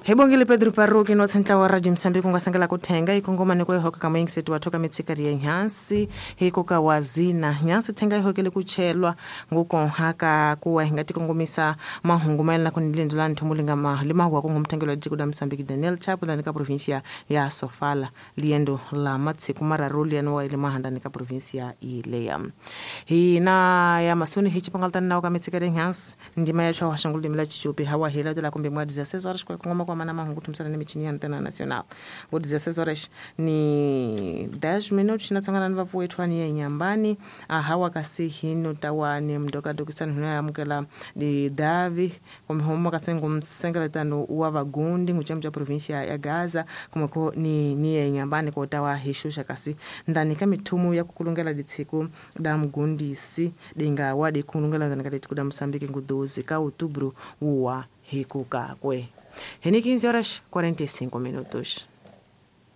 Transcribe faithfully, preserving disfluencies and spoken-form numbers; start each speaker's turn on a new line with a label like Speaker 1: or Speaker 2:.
Speaker 1: Hi bongile Pedro Parruki no tsentla wa Radio Mozambique nga sangela ku thenga ikongoma ni ku hoka ka moyingiseti wa thoka mitsikari ya nyansi hi koka wa zina nyansi thenga ihokele ku chelwa ngukonhaka kuwa hi nga tikongomisa mahungu mayelana ku ni lendo la nthomo linga ma lima wa ku ngumthengelo wa tiko la Mozambique Daniel Chapo ndani ka provincia ya Sofala liendo la matsiku mararu liano wa ile mahandani ka provincia ileya hi na ya masuni hi chipangaltana nawo ka mitsikari ya nyansi ndima ya chawa shangulu limela chichupi hawa hila de la kumbe mwa dezesseis horas kwa kongoma kwa mana mahungu tumsana ni michini ya antena nacional ngo dezesseis horas ni dez minutos natsangana ni vapu wetu ani ya nyambani ahawa kasi hino tawani mdoka dokisani hino yamukela di davi kumhoma kasengo msengeletano wa vagundi nguchemu cha provincia ya Gaza kumako ni ni ya nyambani kwa tawa hishusha kasi ndani ka mithumu ya kukulungela ditsiku da mgundisi dinga wadi kulungela ndani ka ditsiku da Mozambique ngu doze ka outubro uwa hikukakwe. Heni quinze horas quarenta e cinco minutos.